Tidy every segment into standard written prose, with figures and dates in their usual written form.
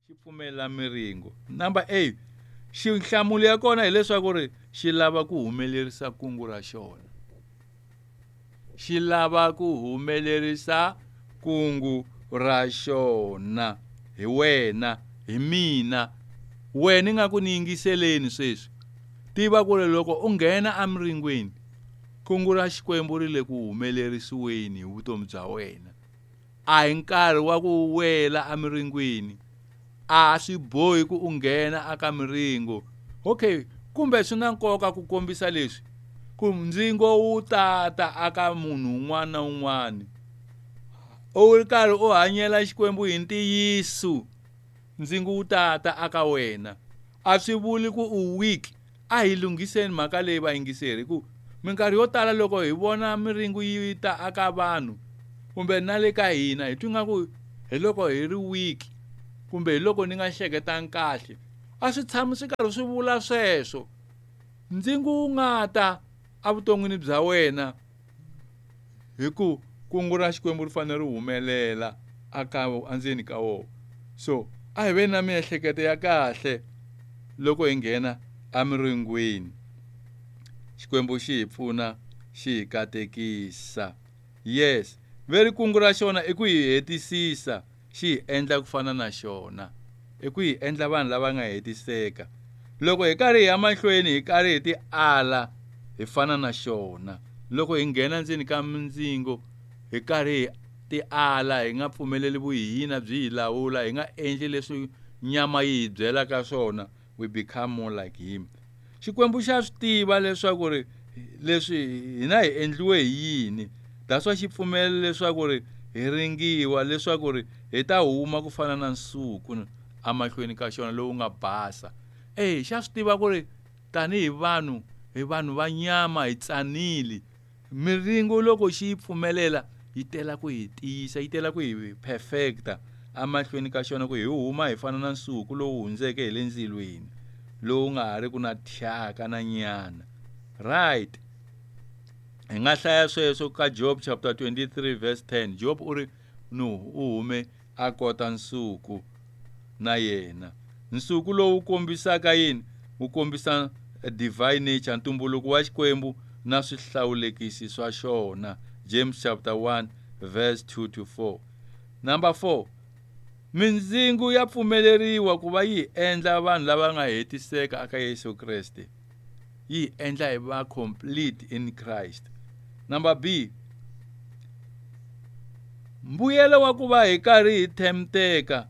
Xi pfumelela miringo. Number A, nhlamulo ya kona hileswaku ri xi lava ku humelerisa kungu ra xona. Xi lava ku humelerisa kungu ra xona hi wena, hi mina. Wena i nga ku ni yingiseleni sweswi. Tiva ku ri loko u nghena emiringweni, kungu ra Xikwembu ri le ku humelerisiweni hi vutomi bya wena. A hi nkarhi wa ku wela emiringweni. A swi bohi ku u nghena aka miringo. Okay, kumbe swi na nkoka ku kombisa leswi ku ndzingo wu tata aka munhu un'wana na un'wana. U ri karhi u hanyela Xikwembu hi ntiyiso, ndzingo wu tata aka wena. A swi vuli ku u weak. A hi lunghiseni mhaka leyi vayingiseri, ku minkarhi yo tala loko hi vona miringo yi ta aka vanhu kumbe na le ka hina hi twi nga ku hi loko hi ri weak kumbe hi loko ni nga hleketangi kahle. A swi tshami swi karhi swi vula sweswo. Ndzingo wu nga ta evuton'wini bya wena hi ku kungu ra Xikwembu ri fanele ri humelela aka endzeni ka wona. So a hi veni na miehleketo ya kahle loko hi nghena emiringweni. Xikwembu xi hi pfuna, xi hi katekisa. Yes, veri kungu ra xona i ku hi hetisisa, xi hi endla ku fana na xona. I ku hi endla vanhu lava nga hetiseka. Loko hi karhi hi ya mahlweni hi karhi hi ti ala, hi fana na xona. Loko hi nghena ndzeni ka mindzingo, hi karhi hi ti ala, hi nga pfumeleli vuhina byi hi lawula, hi nga endli leswi nyama yi hi byelaka swona, we become more like him. Xikwembu xa swi tiva leswaku ri leswi hina hi endliwe hi yini. That's why xi pfumela leswaku ri hi ringiwa leswaku ri hi ta huma ku fana na nsuku emahlweni ka xona lowu nga basa. Xa swi tiva ku ri tanihi vanhu, hi vanhu va nyama, hi tsanile. Miringo loko xi yi pfumelela yi tela ku hi tiyisa, yi tela ku hi perfecta emahlweni ka xona ku hi huma hi fana na nsuku lowu hundzeke hi le ndzilweni, lowu nga ha ri ku na thyaka na nyana. Right. Hi nga hlaya sweswo ka Job chapter 23 verse 10. Job u ri no u hume a kota nsuku na yena. Nsuku lowu kombisaka yini? Wu kombisa divine nature, ntumbuluko wa Xikwembu na swihlawulekisi swa xona. James chapter 1 verse 2 to 4. Number 4. Mindzingo ya pfumeleriwa ku va yi endla vanhu lava nga hetiseka aka Yesu Kreste. Yi endla hi va complete in Christ. Number B. Mbuyelo wa ku va hi karhi hi themteka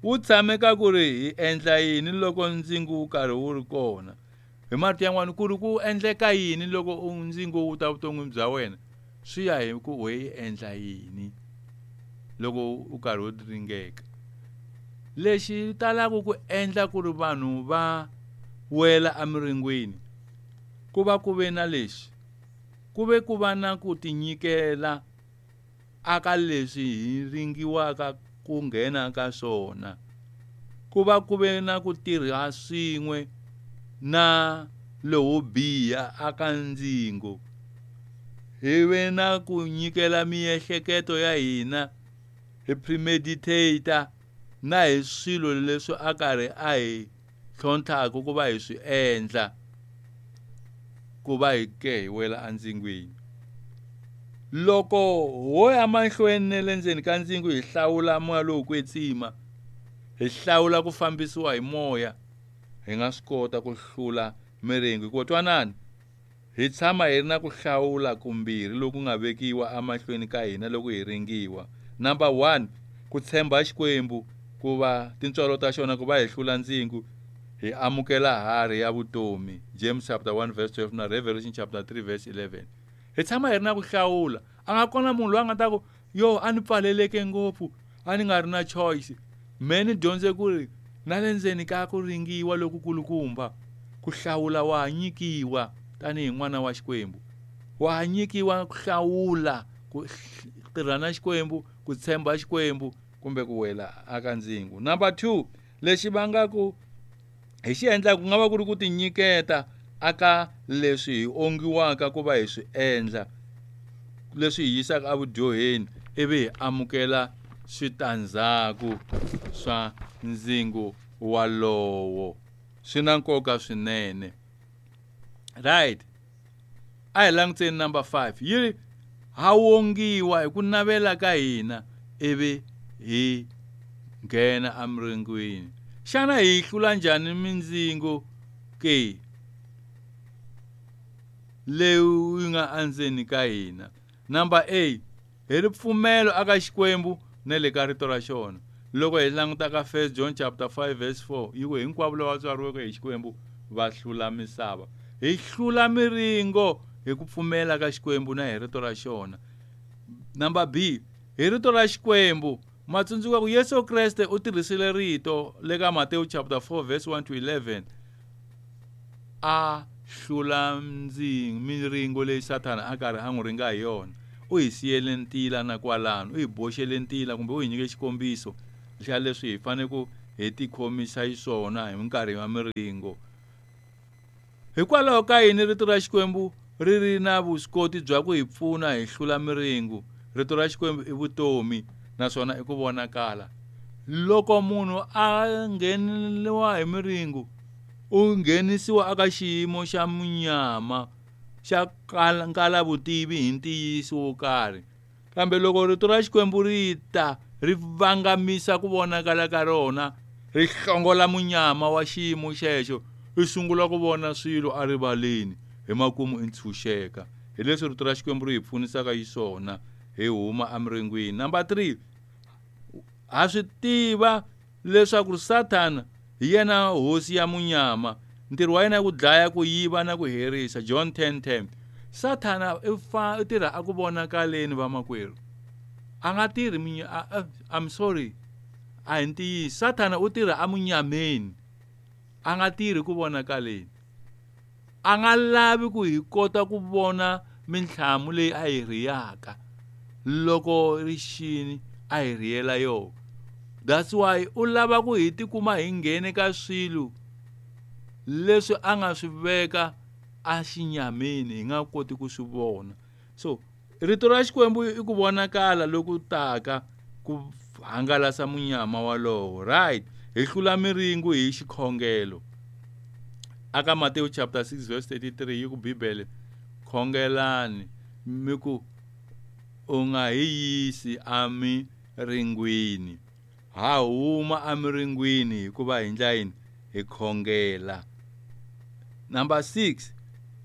wu tshame ka ku ri hi endla yini loko ndzingo wu karhi wu ri kona. Hi marito yan'wana ku ri ku endleka yini loko ndzingo wu ta vuton'wini bya wena, swi ya hi ku we yi endla yini loko u karhi u ringeka. Lexi talaka ku endla ku ri vanhu va wela emiringweni ku va ku ve na lexi, ku ve ku va na ku tinyikela aka leswi hi ringiwaka ku nghena ka swona, ku va ku ve na ku tirha swin'we na lowo biha aka ndzingo, hi ve na ku nyikela miehleketo ya hina, hi premeditate na hi swilo leswi a karhi a hi tlhontlhaka ku va hi swi endla ku va hi ke hi wela endzingweni. Loko ho ya mahlweni ne le ndzeni ka ndzingo hi hlawula moya lowo kwetsima, hi hlawula ku fambisiwa hi moya, hi nga swi kota ku hlula miringo. Hikuva twanani, hi tshama hi ri na ku hlawula kumbirhi loku nga vekiwa emahlweni ka hina loko hi ringiwa. Number 1, ku tshemba Xikwembu ku va tintswalo ta xona ku va hi hlula ndzingo, hi amukela harhi ya vutomi. James chapter 1 verse 12 na Revelation chapter 3 verse 11. Hi tshama hi ri na ku hlawula. A nga kona munhu loyi a nga ta ku yo a ni pfaleleke ngopfu, a ni nga ri na choice. Me ni dyondze ku ri na le ndzeni ka ku ringiwa lokukulukumba, ku hlawula wa nyikiwa tanihi n'wana wa Xikwembu. Wa nyikiwa ku hlawula ku tirha na Xikwembu, ku tshemba Xikwembu kumbe ku wela aka ndzingo. Number 2, lexi vangaka hi xi endlaka ku nga va ku ri ku tinyiketa aka leswi hi ongiwaka ku va hi swi endla, leswi hi yisaka evudyoheni, ivi hi amukela switandzhaku swa ndzingo walowo. Swi na nkoka swinene. Right, a hi langutiseni number 5. Yi ri ha wongiwa hi ku navela ka hina ivi hi nghena emiringweni. Xana hi hlula njhani mindzingo ke leyi nga endzeni ka hina? Number A, hi ripfumelo aka Xikwembu na le ka rito ra xona. Loko hi languta ka 1 John chapter 5 verse 4, yi ku hinkwavo lava tswariweke hi Xikwembu va hlula misava. Hi hlula miringo hi ku pfumela ka Xikwembu na hi rito ra xona. Number B, hi rito ra Xikwembu. Matsundzuka ku Yesu Kreste u tirhisile rito le ka Matewu chapter 4 verse 1 to 11 a hlula miringo leyi Sathana a karhi a n'wi ringa hi yona. U hi siyele ntila na kwalano, u hi boxele ntila kumbe u hi nyike xikombiso xa leswi hi fanele ku hi tikhomisa xiswona hi minkarhi ya miringo. Hikwalaho ka yini rito ra Xikwembu ri ri na vuswikoti bya ku hi pfuna hi hlula miringo? Rito ra Xikwembu i vutomi naswona i ku vonakala. Loko munhu a ngheniwa hi miringo, u nghenisiwa eka xiyimo xa munyama xa nkala vutivi hi ntiyiso wo karhi. Kambe loko rito ra Xikwembu ri ta ri vangamisa ku vonakala ka rona, ri hlongola munyama wa xiyimo xexo, i sungula ku vona swilo erivaleni, hi makumu i ntshunxeka. Hi leswi rito ra Xikwembu ri hi pfunisaka xiswona hi huma emiringweni. Number 3, ha swi tiva leswaku Sathana hi yena hosi ya munyama. Ntirho wa yena i ku dlaya, ku yiva na ku herisa. John 10:10. Sathana u tirha a ku vonakaleni vamakwerhu. A nga tirhi I'm sorry, a hi ntiyiso. Sathana u tirha emunyameni, a nga tirhi ku vonakaleni. A nga lavi ku hi kota ku vona mintlhamu leyi a hi rhiyaka loko rixini a hi rhiyela yona. That's why u lava ku hi tikuma hi nghene ka swilo leswi a nga swi veka a xinyameni hi nga koti ku swi vona. So rito ra Xikwembu i ku vonakala loku taka ku hangalasa munyama walowo. Right, hi hlula miringo hi xikhongelo. Aka Matewu chapter 6 verse 33 yi ku Bibele, khongelani mi ku u nga hi yisi emiringweni. Ha huma emiringweni hikuva hi ndla yini? Hi khongela. Number 6,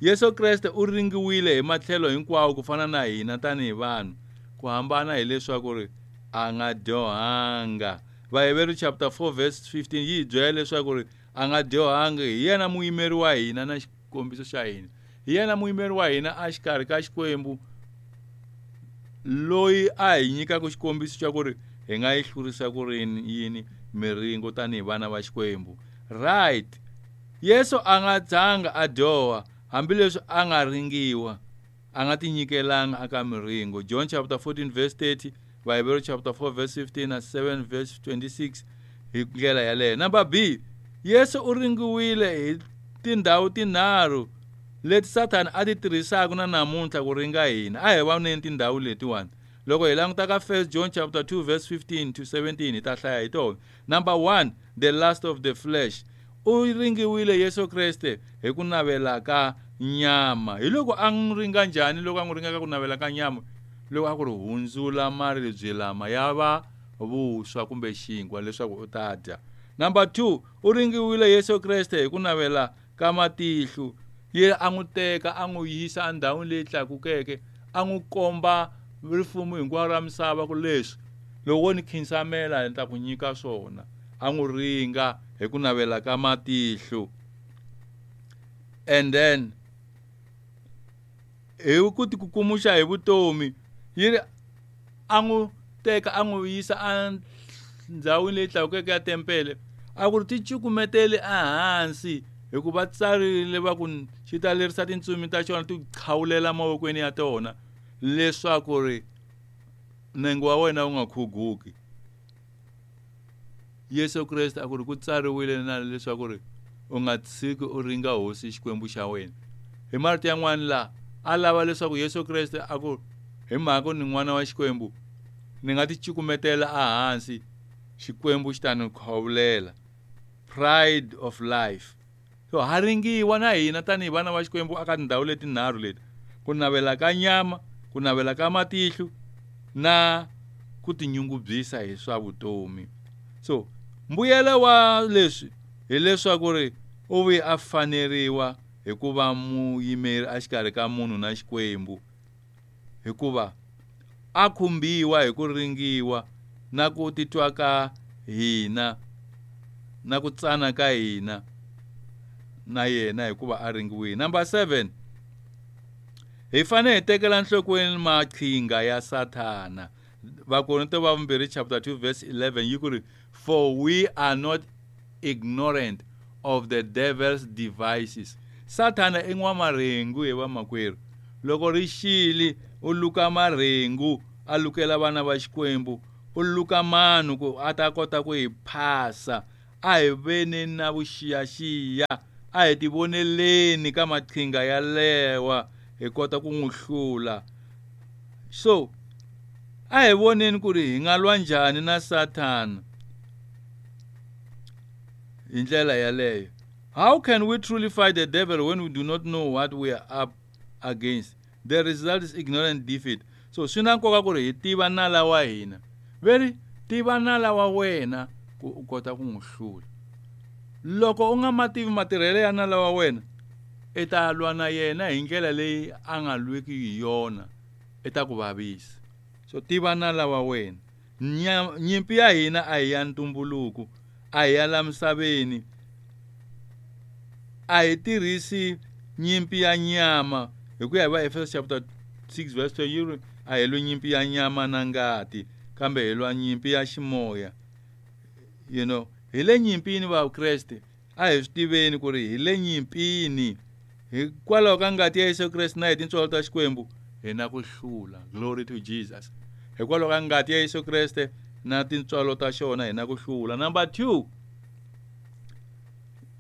Yesu Kreste u ringiwile hi matlhelo hinkwawo ku fana na hina tanihi vanhu. Ku hambana hileswaku ri a nga dyohanga. Vaheveru chapter 4 verse 15 yi hi byela leswaku ri a nga dyohanga, hi yena muyimeri wa hina na xikombiso xa hina. Hi yena muyimeri wa hina exikarhi ka Xikwembu, loyi a hi nyikaka xikombiso xa ku ri hi nga yi hlurisa ku ri yini miringo tanihi vana va Xikwembu. Right, Yesu a nga dzanga a dyoha hambileswi a nga ringiwa, a nga tinyikelanga aka miringo. John chapter 14 verse 30, Vaheveru chapter 4 verse 15 na 7 verse 26 hi ndlela yaleyo. Number B, Yesu u ringiwile hi tindhawu tinharhu leti Sathana a ti tirhisaka na namuntlha ku ringa hina. A hi voneni tindhawu letiwani. Loko hi languta ka 1 John chapter 2 verse 15 to 17 hi ta hlaya hi tona. Number 1, the lust of the flesh. U ringiwile Yesu Kreste hi ku navela ka nyama. Hi loko a n'wi ringa njhani? Loko a n'wi ringa ka ku navela ka nyama, loko a ku ri hundzula maribye lama ya va vuswa kumbe xinkwa leswaku u ta dya. Number 2, u ringiwile Yesu Kreste hi ku navela ka matihlo. Ye a n'wi teka a n'wi yisa endhawini leyi tlakukeke, a n'wi komba rifumo hinkwaro ra misava ku leswi loko wo ni khinsamela ni ta ku nyika swona. A n'wi ringa hi ku navela ka matihlo. And then hi ku tikukumuxa hi vutomi, yi ri a n'wi teka a n'wi yisa endhawini leyi tlakukeke ya tempele, a ku ri ti cukumetele ehansi hikuva tsarile va ku xi ta lerisa tintsumi ta xona ti khawulela mavokweni ya tona leswaku ri nenge wa wena wu nga khuguki. Yesu Kreste a ku ri ku tsariwile na leswaku ri u nga tshiki u ringa Hosi Xikwembu xa wena. Hi marito yan'wana la a lava leswaku Yesu Kreste a ku hi mhaka ni n'wana wa Xikwembu, Ni nga ti cukumetela ehansi, Xikwembu xi ta ni khovulela. Pride of life. So ha ringiwa na hina tanihi vana va Xikwembu aka tindhawu letinharhu leti, ku navela ka nyama, ku navela ka matihlo na ku tinyungubyisa hi swa vutomi. So mbuyelo wa leswi hileswaku ri u vuye a faneriwa hi ku va muyimeri exikarhi ka munhu na Xikwembu, hikuva a khumbiwa hi ku ringiwa na ku titwa ka hina na ku tsana ka hina na yena hikuva a ringiwile. Number 7, hi fanele hi tekela nhlokweni maqhinga ya Sathana. Vakorinto va vumbirhi chapter 2 verse 11 yi ku ri, for we are not ignorant of the devil's devices. Sathana i n'wamarhengu hi vamakwerhu. Loko ri xile u luka marhengu a lukela vana va Xikwembu, u luka mano ku a ta kota ku hi phasa. A hi veni na vuxiyaxiya, a hi tivoneleni ka maqhinga yalewa hi kota ku n'wi hlula. So a hi voneni ku ri hi nga lwa njhani na Sathana hi ndlela yaleyo. How can we truly fight the devil when we do not know what we are up against? The result is ignorant defeat. So swi na nkoka ku ri hi tiva nala wa hina. Veri tiva nala wa wena ku u kota ku n'wi hlula. Loko u nga ma tivi matirhelo ya nala wa wena, i ta lwa na yena hi ndlela leyi a nga lweki hi yona, i ta ku vavisa. So tiva nala wa wena. Nyimpi ya hina a hi ya ntumbuluko, a hi ya la misaveni. A hi tirhisi nyimpi ya nyama hi ku ya hi va Efeso chapter 6 verse 12 yi ri a hi lwi nyimpi ya nyama na ngati, kambe hi lwa nyimpi ya ximoya. You know, hi le nyimpini Vakreste, a hi swi tiveni ku ri hi le nyimpini. Hikwalaho ka ngati ya Yesu Kreste na hi tintswalo ta Xikwembu hi na ku hlula. Glory to Jesus. Hikwalaho ka ngati ya Yesu Kreste na tintswalo ta xona hi na ku hlula. Number 2,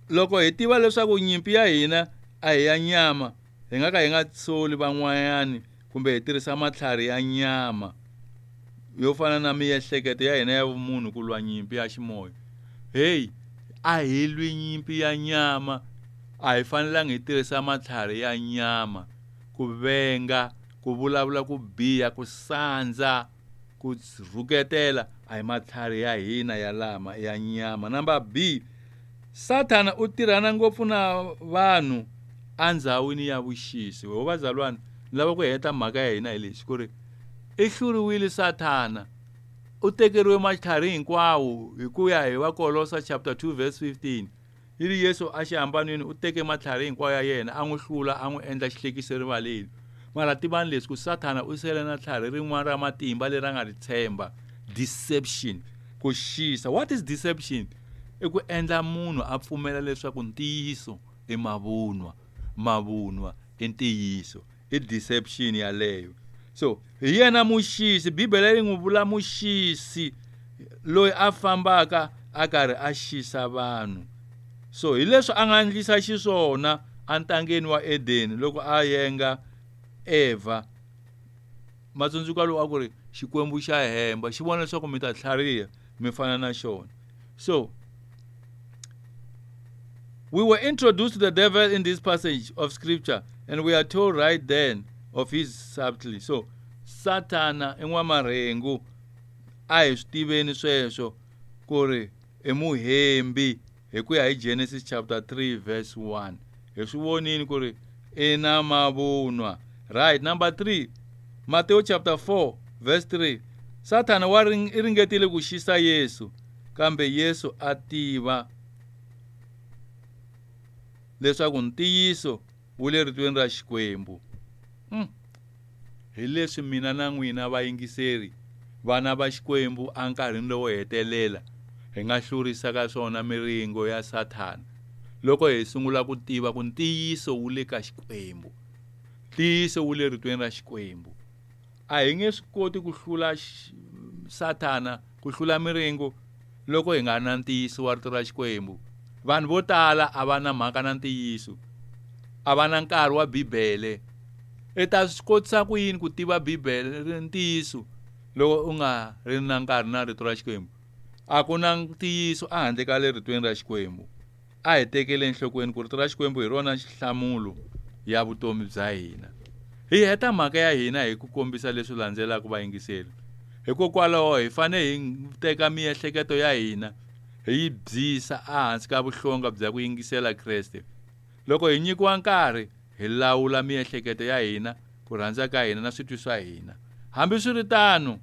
loko hi tiva leswaku nyimpi ya hina a hi ya nyama, hi nga ka hi nga soli van'wanyani kumbe hi tirhisa matlhari ya nyama yo fana na miehleketo ya hina ya vumunhu ku lwa nyimpi ya ximoya. Hey, a hi lwi nyimpi ya nyama, a hi fanelangi hi tirhisa matlhari ya nyama ku venga, ku vulavula ku biha, ku sandza, ku rhuketela, a hi matlhari ya hina ya lama ya nyama. Number B, Sathana u tirhana ngopfu na vanhu endzhawini ya vuxisi. Ho vazalwana, ni lava ku heta mhaka ya hina hi lexi ku ri i hluriwile Sathana, u tekeriwe matlhari hinkwawo hi ku ya hi Vakolosa chapter 2 verse 15. Yi ri Yesu a xihambanweni u teke matlhari hinkwawo ya yena, a n'wi hlula, a n'wi endla xihlekiso erivaleni. Mara tivani leswi ku Sathana u sele na tlhari rin'wana ra matimba leri a nga ri tshemba, deception, ku xisa. What is deception? I ku endla munhu a pfumela leswaku ntiyiso i mavunwa, mavunwa i ntiyiso. I deception yaleyo. So hi yena muxisi, Bibele yi n'wi vula muxisi loyi a fambaka a karhi a xisa vanhu. So hi leswi a nga endlisa xiswona entangeni wa Edeni loko a yenga Eva. Matsundzuka lowu a ku ri Xikwembu xa hemba, xi vona leswaku mi ta tlhariha mi fana na xona. So we were introduced to the devil in this passage of scripture, and we are told right then of his subtlety. So Sathana i n'wamarhengu, a hi swi tiveni sweswo ku ri i muhembi hi ku ya hi Genesis chapter 3 verse 1. Hi swi vonini ku ri i na mavunwa. Right, number 3, Matthew chapter 4 verse 3. Sathana wa i ringetile ku xisa Yesu, kambe Yesu a tiva leswaku ntiyiso wu le ritweni ra Xikwembu. Hi leswi mina na n'wina vayingiseri, vana va Xikwembu enkarhini lowo hetelela hi nga hlurisaka swona miringo ya Sathana loko hi sungula ku tiva ku ntiyiso wu le ka Xikwembu, ntiyiso wu le ritweni ra Xikwembu. A hi nge swi koti ku hlula Sathana, ku hlula miringo loko hi nga na ntiyiso wa rito ra Xikwembu. Vanhu vo tala a va na mhaka na ntiyiso, a va na nkarhi wa Bibele. I ta swi kotisa ku yini ku tiva Bibele ntiyiso Loko u nga ri na nkarhi na rito ra Xikwembu, a ku na ntiyiso ehandle ka le ritweni ra Xikwembu. A hi tekeli enhlokweni ku rito ra Xikwembu hi rona nhlamulo ya vutomi bya hina. Hi heta mhaka ya hina hi ku kombisa leswi landzelaka vayingiseri. Hikokwalaho hi fanele hi teka miehleketo ya hina hi yi byisa ehansi ka vuhlonga bya ku yingisela Kreste. Loko hi nyikiwa nkarhi, hi lawula miehleketo ya hina, ku rhandza ka hina na switwi swa hina. Hambiswiritano,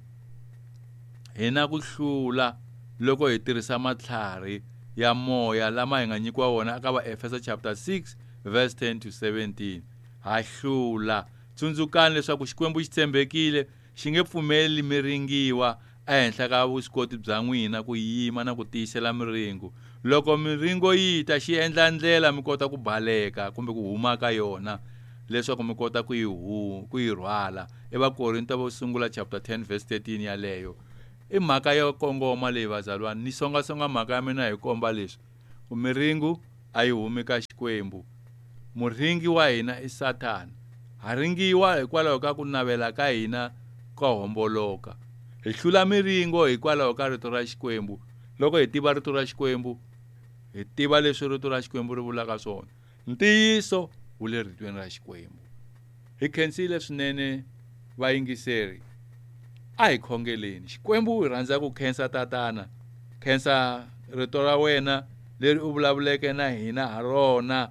hi na ku hlula loko hi tirhisa matlhari ya moya lama hi nga nyikiwa wona eka Vaefesa chapter 6 verse 10 to 17. Ha hlula. Tsundzukani leswaku Xikwembu xi tshembekile, xi nge pfumeli mi ringiwa ehenhla ka vuswikoti bya n'wina ku yima na ku tiyisela miringo. Loko miringo yi ta, xi endla ndlela mi kota ku baleka kumbe ku huma ka yona leswaku mi kota ku yi ku yi rhwala. EVakorinto vo sungula chapter 10 verse 13 yaleyo. I mhaka yo kongoma leyi vazalwana, ni songasonga mhaka ya mina hi komba leswi. Ku miringo a yi humi ka Xikwembu. Muringi wa hina i Sathana. Ha ringiwa hikwalaho ka ku navela ka hina ko homboloka. Hi hlula miringo hikwalaho ka rito ra Xikwembu. Loko hi tiva rito ra Xikwembu, hi tiva leswi rito ra Xikwembu ri vulaka swona. Ntiyiso wu le ritweni ra Xikwembu. Hi khensile swinene vayingiseri. A hi khongeleni. Xikwembu hi rhandza ku khensa Tatana. Khensa rito ra wena leri u vulavuleke na hina ha rona.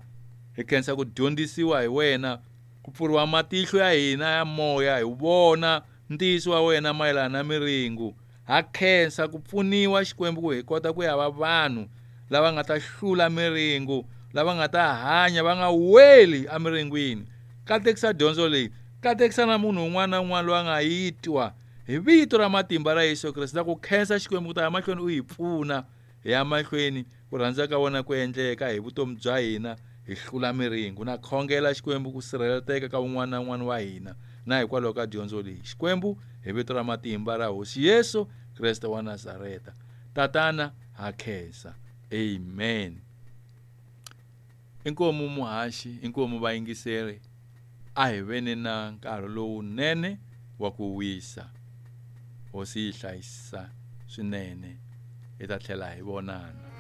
Hi khensa ku dyondzisiwa hi wena, ku pfuriwa matihlo ya hina ya moya hi vona ntiyiso wa wena mayelana na miringo. Ha khensa ku pfuniwa Xikwembu ku hi kota ku ya va vanhu lava nga ta hlula miringo, lava nga ta hanya va nga weli emiringwini. Katekisa dyondzo leyi, katekisa na munhu un'wana na un'wana loyi a nga yi twa hi vito ra matimba ra Yesu Kreste. Na ku khensa Xikwembu ku ta ya mahlweni u hi pfuna hi ya mahlweni ku rhandza ka wena ku endleka hi vutomi bya hina, hi hlula miringo. Na khongela Xikwembu ku sirheleteka ka un'wana na un'wana wa hina na hikwalaho ka dyondzo leyi. Xikwembu hi vito ra matimba ra Hosi Yesu Kreste wa Nazareta. Tatana, ha khensa. Amen. Inkomu muhaxi, inkomu vayingiseri, a hi veni na nkarhi lowunene wa ku wisa. Hosi yi hlayisa swinene. Hi ta tlhela hi vonana.